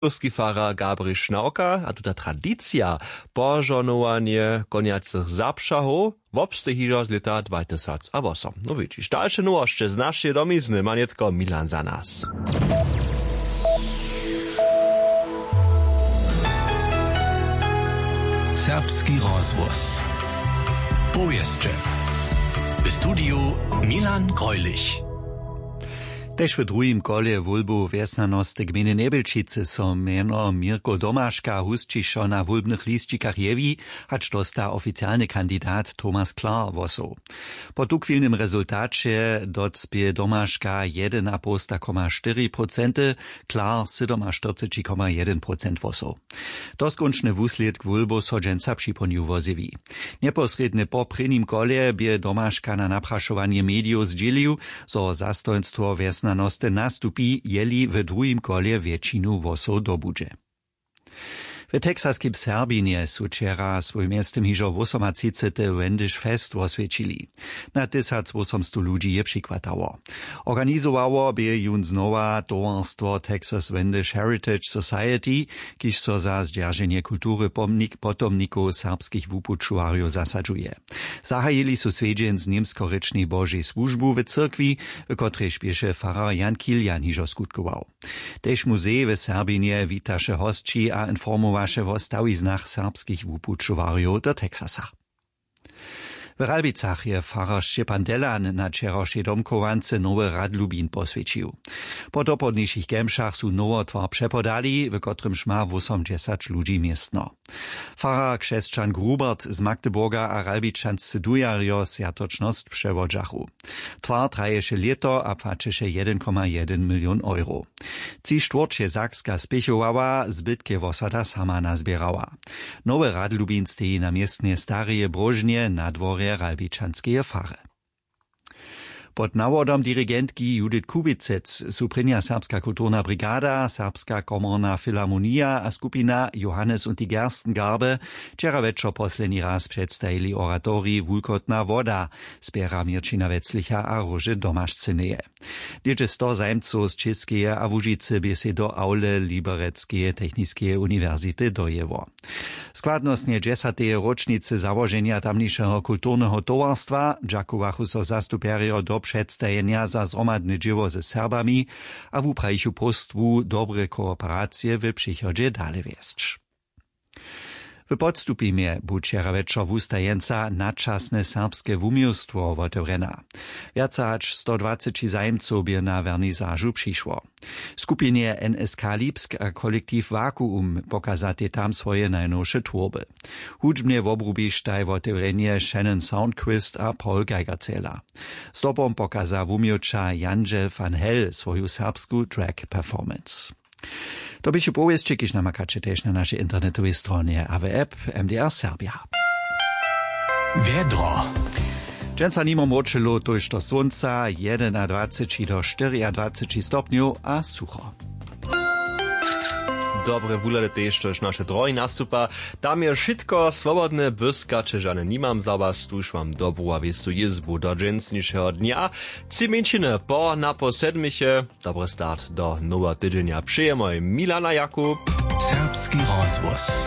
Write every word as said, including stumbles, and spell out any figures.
Kółski farar Gabriš Šnawka a tuta tradicija požohnowanje konjacych zapřahow wobsteji hižo z lěta dwatysacawosem. No widźiš, dalše nowosće z našeje domizny ma nětko Milan za nas. Serbski rozhłos. Powěsće. W studiju Milan Greulich. Tež w druhim kolje wólbow wjesnjanosty gmejny Njebjelčicy so mjeno Mirko Domaška husćišo na wólbnych lisćikach jewi, hač dósta oficialny kandidat Thomas Klar hłosow. Po tuchwilnym rezultaće docpě Domaška jedynapołsta koma štyri procenty, Klar sydomaštyrceći koma jedyn procent hłosow. Doskónčny wuslědk wólbow so dźensa připołdnju wozjewi. Njeposrědnje po prěnim kolje bě Domaška na naprašowanje medijow zdźělił, zo zastojnstwo wjesnjanosty nastupi, jeli w druhim kolje wjetšinu hłosow dobudźe. W texaskej Serbinje su wčera swój mjeztym hižo wosomatřicety Wendyš Fest woswjećili. Na tysacwósomstow ludźi je přichwatało. Organizowało bě jón znowa towarstwo Texas Wendyš Heritage Society, kiž so za zdźerženje kultury pomnik-, potomnikow serbskich wupućowarjow zasadźuje. Zahajili su swjedźeń z němskorěčnej Božej słužbu w cyrkwi, w kotrejž běše farar Jan Kilian hižo skutkował. Tež muzej w Serbinje witaše hosći a informowaše wo stawiznach serbskich wupućowarjow do Texasa. W Ralbicach je farar Šćepan Delan na wčerawšej domchowance nowy radlubin poswjećił. Po dopołdnišich kemšach su nowotwar přepodali, w kotrymž ma wósomdźesać ludźi městno. Farar křesćan Grubert z Magdeburga a Ralbičanscy dujarjo swjatočnosć přewodźachu. Twar traješe lěto a płaćeše jedyn koma jedyn milion euro. Tři štwórće Sakska spěchowała, zbytk je wosada sama nazběrała. Nowy radlubin steji na městnje stareje bróžnje na dworje ralbičanskeje fary. Pod nawodom dirigentki Judith Kubicec su prěnja Serbska kulturna brigada, Serbska komorna filharmonija a skupina Johannes und die Gerstengarbe wčera wječor posledni raz předstajili oratorij Wulkotna woda, spěra Měrćina Weclicha a Róže Domašcyneje. Něhdźe sto zajimcow z Čěskeje a Łužicy bě sej do awle Liberecskeje techniskeje uniwersity dojěło. Składnostnje dźesateje róčnicy załoženja tamnišeho kulturneho towarstwa dźakowachu so zastupjerjo do předstajenja za zhromadne dźěło ze Serbami a wuprajichu próstwu dobre kooperacije w přichodźe dale wjesć. W Podstupimje bu wčera wječor wustajeńca Nadčasne serbske wuměłstwo wotewrjena. Wjace hač sto dwaceći zajimcow bě na wernisažu přišło. Skupinje N S K Lipsk a kolektiw Vakuum pokazatej tam swoje najnowše twórby. Hudźbnje wobrubištaj wotewrjenje Shannon Soundquist a Paul Geigerzähler. Zdobom pokaza wuměłča Jandźel van Hell swoju serbsku drag performance. To běchu powěsće, kiž namakaće tež na našej internetowej stronje a w app M D R Serbia. Wjedro. Dźensa nimo mróčelow, tójšto słónca, jedynadwaceći do štyriadwaceći stopnjow a sucho. Dobre wuhlady tež, štož naše drohi nastupa. Tam je wšitko swobodne, błyskaće žane nimam za was, tuž wam dobru a wěstu jězbu do dźensnišeho dnja. Tři mjeńšiny po napoł sedmiche. Dobry start do noweho tydźenja přejemoj, Milana Jakub. Serbski rozhłos.